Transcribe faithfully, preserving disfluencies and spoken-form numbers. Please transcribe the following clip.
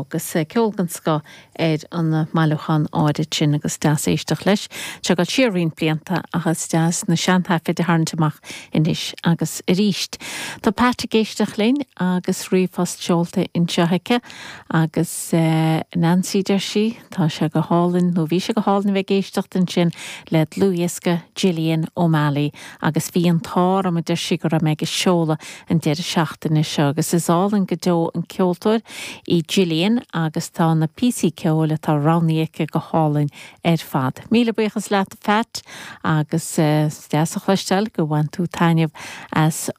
Agus ceol den scoth ar an mbailiúchán áirid sin agus deas éisteacht leis. Seo go siar roinnt blianta agus deas na seantaifid a tharraingt amach anois agus arís. Tá Pat ag éisteacht linn agus ríomhphost seolta anseo aici agus uh, Nancy deir sí tá sé go hálainn nó bhí sé go hálainn bheith ag éisteacht ansin le dlúthdhiosca Gillian O'Malley agus bhí an t-ádh orm a deir sí go raibh mé ag seoladh an deireadh seachtaine seo agus is álainn go deo an ceoltóir í Gillian agus tá na píosaí ceoil atá roghnaithe aici go hálainn ar fad. Míle buíochas leat Pat agus uh, deas a chloisteáil go bhain tú taitneamh as